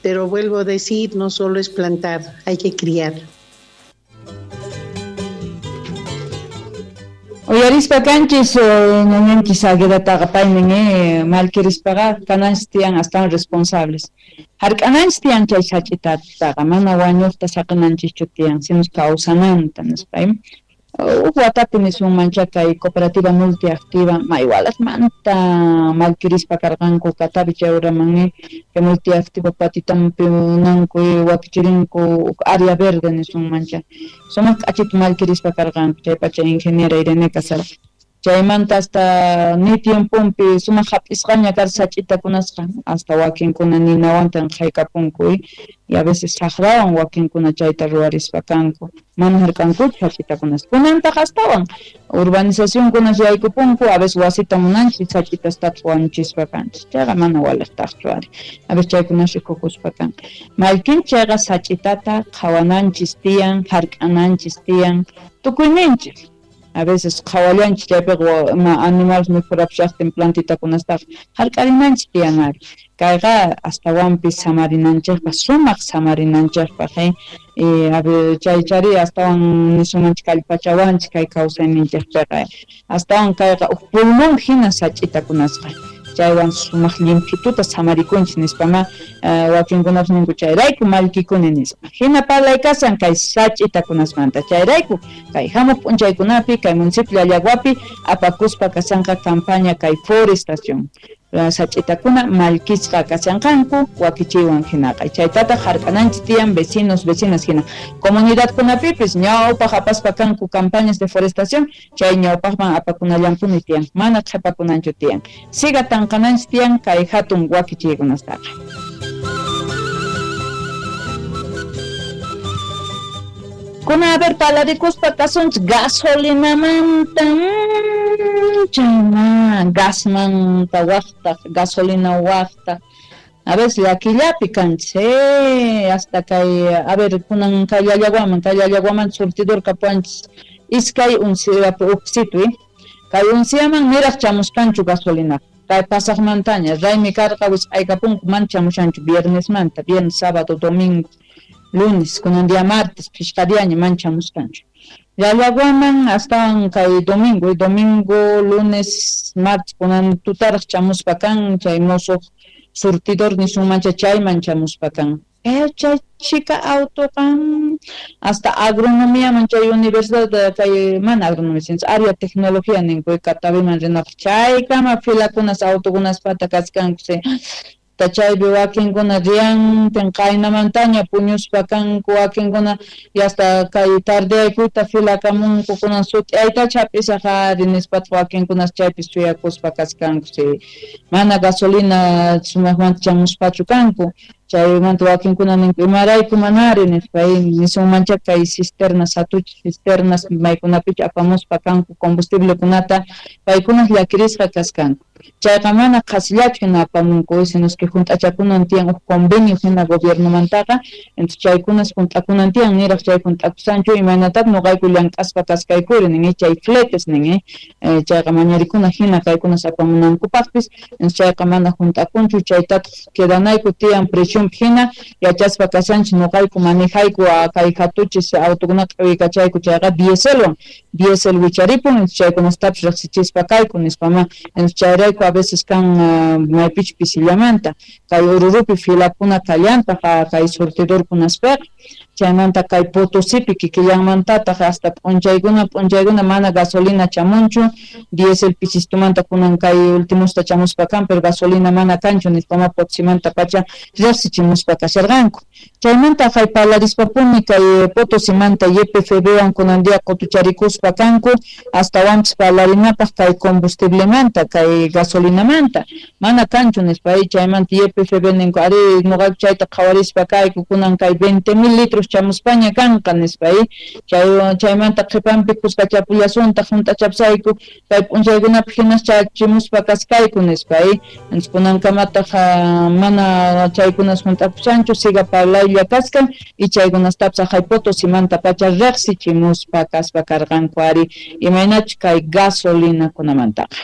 Pero vuelvo a decir, no solo es plantar, hay que criar. Uyarispa kanchis ñañanchis Aguedataqa paynin mallkirispaqa kananchis tiyan astawan responsables. Hark'ananchis tiyan chay sach'itataqa, mana wañuqta saqinanchischu tiyan, sino kawsananta nispa. Huk watapi nisunmancha kay cooperativa multiactiva maywalasmanta mallkirispa karqanku Catavi chayuraman kay multiactiva patitampi munanku wakichirinku huk área verde nisunmancha sumaq k'achita mallkirispa karqanku chaypacha ingeniera Irene kasharqa chaymanta hasta ni tiemponpi sumaq hap'isqaña karqa sach'itakunasqa hasta wakinkuna ninawantan qaykapunku y a veces saqrawan wakinkuna chayta ruwarispa kanku mana hark'ankuchu sach'itakunasqa kunantaq astawan urbanizacionkunas yaykupunku a veces wasita munanchis sach'itastataq wañuchispa kanchis chayqa mana waliqtaqchu ari a veces chaykunas rikukuspa kan mallkinchik chayqa sach'itata qhawananchis tiyan hark'ananchis tiyan tukuyninchik a veces qhawallanchis chaypiqa ima animales mikhurapishaqtin plantitakunastaqa hark'arinanchis tiyan ari kayqa astawanpis samarinanchikpaq sumaq samarinanchikpaq chay chari astawan nisunmanchik kallpachawanchik kay kawsayninchikpiqa astawan kayqa huk pulmón hina sach'itakunasqa chaywan sumaq llimphituta samarikunchis nispama wakinkunapas ninku chayrayku mallkikuni nispa hina parlay kashan kay sach'itakunasmanta chayrayku kay hamuq p'unchaykunapi kay municipio Llallaguapi apakuspa kashanqa campaña kay forestación sach'itakuna mallkisqa kashanqanku wakichiywan hinaqa chaytataq hark'ananchis tiyan vecinos vecinas hina comunidadkunapipis ñawpaq apaspa kanku campañas de forestación chay ñawpaqman apakunallampuni tiyan mana qhipakunanchu tiyan siga tanqananchis tiyan kay hatun wakichiykunastaqa. Kuna a ver palarikuspa kasunchik gasolinamanta chayma gasmanta waqtaq gasolina waqtaq a veces llakillapi kanchis hasta kay a ver kunan kay Llallaguaman surtidor kapuwanchis iskay unciapi uqsitu kay unciaman niraq chamusqanchu gasolinaqa kay pasaqmantaña raymi karqa wisq'aykapunku mana chamushanchu viernesmanta viernes sábado domingo lunes kunan día martes phishqa diaña mana chamusqanchu Llallaguaman astawan kay domingo domingo lunes martes kunan tutaraq chamuspa kan chay musuq surtidor nisunmancha chayman chamuspa kan chay chika autoqa hasta agronomiaman chay universidad kay mana agronomía sino área tecnología ninku Cataviman rinapaq chaykama filakunas autokunaspata kachkanku chaypi wakinkuna riyantin qaynamantaña puñuspa kanku wakinkuna y hasta kay tardeaykuyta filakamunku kunan sut'aytacha hap'isaq ari nispataq wakinkunas chaypi suyakuspa kachkanku si mana gasolina sumaqmanta chamuspachu kanku chaymanta wakinkuna ninku imarayku manari nispa nisunmancha kay cisternas hatuchis cisternas maykunapichu apamuspa kanku combustiblekunata paykunas llakirisqa kaskanku chayqa mana qhasillachu hina apamunku sino que hunt'achakunan tiyan huk convenio hina gobiernomantaqa entonces chaykunas hunt'akunan tiyan niraq chay hunt'akusanchu imaynataq nuqayku llank'aspa kaskaykuri nin chay fletes nin chayqa mañarikuna hina kaykunas apamunankupaqpis entonces chayqa mana hunt'akunchu chaytataq quedanayku tiyan presionpi hina yachaspa kashanchis nuqayku manejayku kay hatuchis autokunata q'iwikachayku chayqa dieselwan diesel wicharipun entonces chaykunastapis riqsichispa kayku nispama entonces chayrayku a veces kan maypichu pisillamanta kay Ururupi filakuna kallantaq kay surtidorkunaspiqa chaymanta kay Potosipi kikillanmantataq hasta p'unchaykuna mana gasolina chamunchu diesel pisistumanta kunan kay ultimusta chamuspa kan pero gasolina mana kanchu nispama Potosimanta pacha riqsichimuspa kasharqanku chaymanta kay parlarispapuni kay Potosimanta YPFBwan kunan día qutucharikuspa kanku astawanpis parlarinapaq kay combustiblemanta kay gasolinamanta mana kanchu nispa chaymanta YPFB ninku ari nuqayku chayta qhawarispa kayku kunan kay 20,000 litros chamuspaña kanqa nispa chaymanta qhipanpi kuskachapullasuntaq hunt'achapsayku kay p'unchaykunapi hinas chachimuspa kaskayku nispa entonces kunankamataq mana chaykunas hunt'akushanchu siga parlaylla kaskan y chaykunastapis aqhay Potosimanta pacha riqsichimuspa kaspa karqanku ari imaynachu kay gasolinakunamantaqa.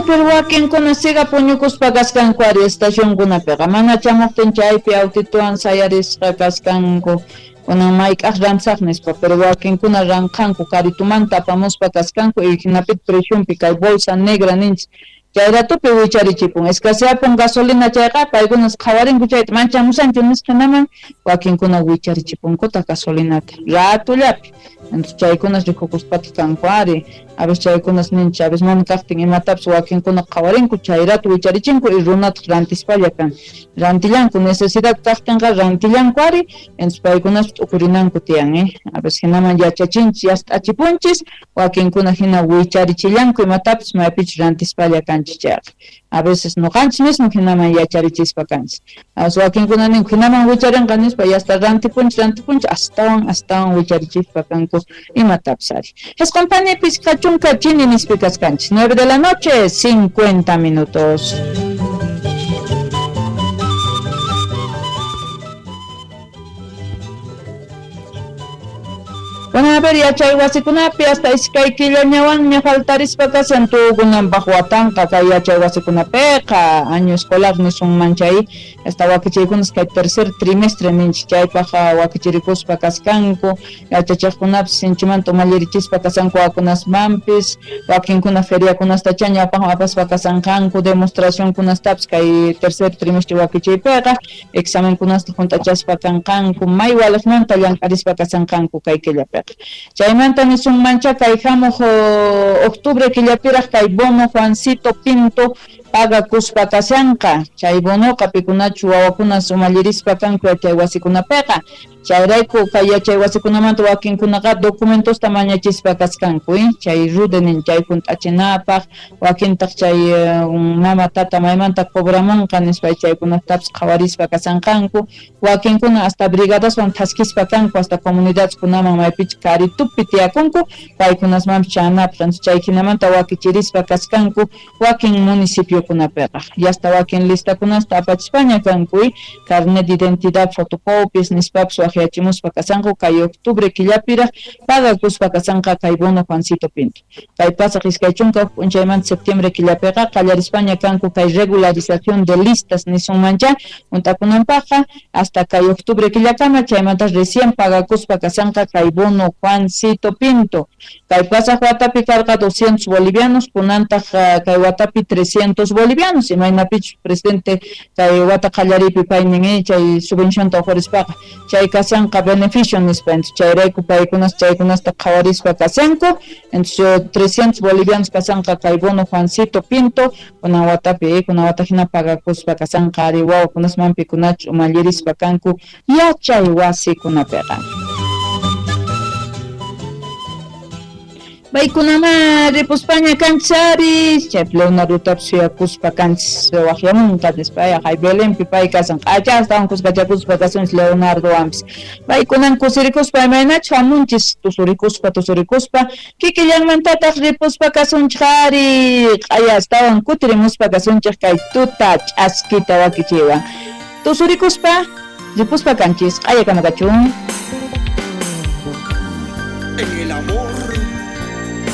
Pero wakinkuna siga puñukuspa kaskanku ari estacionkunapiqa mana chamuqtin chaypi autituwan sayarisqa kaskanku kunan mayk'aq rantisaq nispa, pero wakinkuna ranqanku karitumanta apamuspa kaskanku y hinapita preciunpi kay bolsa negra ninchis chay ratupi wicharichipun escaseapun gasolina chayqa paykunas qhawarinku chayta manchamusanchu nisqa hinaman wakinkuna wicharichipunkutaq gasolinata ratullapi. Entonces chaykunas rikukuspataq kanku ari a veces chaykunas ninchis a veces mana kaqtin imatapis wakinkuna qhawarinku chay rato wicharichinku y runataq rantispalla kan rantillanku necesidad kaqtinqa rantillanku ari entonces paykunas t'ukurinanku tiyan a veces hinaman yachachinchis yast'achipunchis wakinkuna hina wicharichillanku imatapis maypichus rantispalla kanchis chayqa a veces noqanchis mismo hinaman yacharichispa kanchis a veces wakinkuna ninku hinaman wicharinqa nispa yasta rantipunchis rantipunchis astawan astawan wicharichispa kanku imatapis ari. Jisqun panipis kachunka chini nispi kaskanchis 9 de la noche 50 minutos. Bueno, a ver, yachay wasikunapi hasta iskay killañawanña faltarispa kashan tukunanpaq watanqa kay yachay wasikunapiqa año escolar nisunman chay hasta wakichiykunas kay tercer trimestre ninchis chaypaq wakichirikuspa kaskanku yachachiqkunapis sinchimanta umallirichispa kasanku wakunasmanpis wakinkuna feriakunastacha ñawpaqman apaspa kasanqanku demostracionkunastapis kay tercer trimestre wakichiypiqa examenkunasta hunt'achaspa kanqanku may waliqmanta llank'arispa kasanqanku kay killapi. Chaymanta nisunmancha kay hamuq octubre killapiraq kay bono Juancito Pinto pagakuspa kashanqa chay bonoqa pikunachu wawakunas umallirispa kanku yachay wasikunapiqa chayrayku kay yachay wasikunamanta wakinkunaqa documentosta mañachispa kaskanku chay rudenin chay hunt'achinapaq wakintaq chay mama tata maymanta cobramunqa nispa chaykunatapis qhawarispa kasanqanku wakinkuna hasta brigadaswan thaskispa kanku hasta comunidadkunaman maypichus karitupi tiyakunku paykunasmanpis chanapaq chay hinamanta wakichirispa kaskanku wakin municipiokunapiqa yasta wakin listakunasta apachispaña kanku carnet de identidad fotocopias nispapis waqyachimuspa kasanku kay octubre killapiraq pagakuspa kasanqa kay bono Juancito Pinto kay pasaq 20 p'unchaymanta septiembre killapiqa qallarispaña kanku kay regularización de listas nisunmancha hunt'akunanpaqqa hasta kay octubre killakama chaymanta recién pagakuspa kasanqa kay bono Juancito Pinto kay pasaq watapi karqa 200 bolivianos kunantaq kay watapi 300 bolivianos imaynapichus presidente kay wata qallaripi paynin chay subvencionta uqhurispaqa chay kasanqa beneficio nispa entonces chayrayku paykunas chaykunasta qhawarispa kasanku entonces 300 bolivianos kasanqa kay bono Juancito Pinto kunan watapi kunan wata hina pagakuspa kasanqa ari wawakunasman pikunachu umallirispa kanku yachay wasikunapiqa. Paykunama ripuspaña kanchis chay Leonardotapis suyakuspa kanchis waqyamunqa nispa hay Belenpi pay kasan q'achastawan kuskachakuspa kasunchis Leonardowanpis paykunan kusirikuspa imaynachu hamunchis tusurikuspa tusurikuspa kikillanmantataq ripuspa kasunchik ari q'aya astawan kutirimuspa kasunchik kay tuta ch'askita wakichiwan tusurikuspa ripuspa kanchis q'aya kama kachun.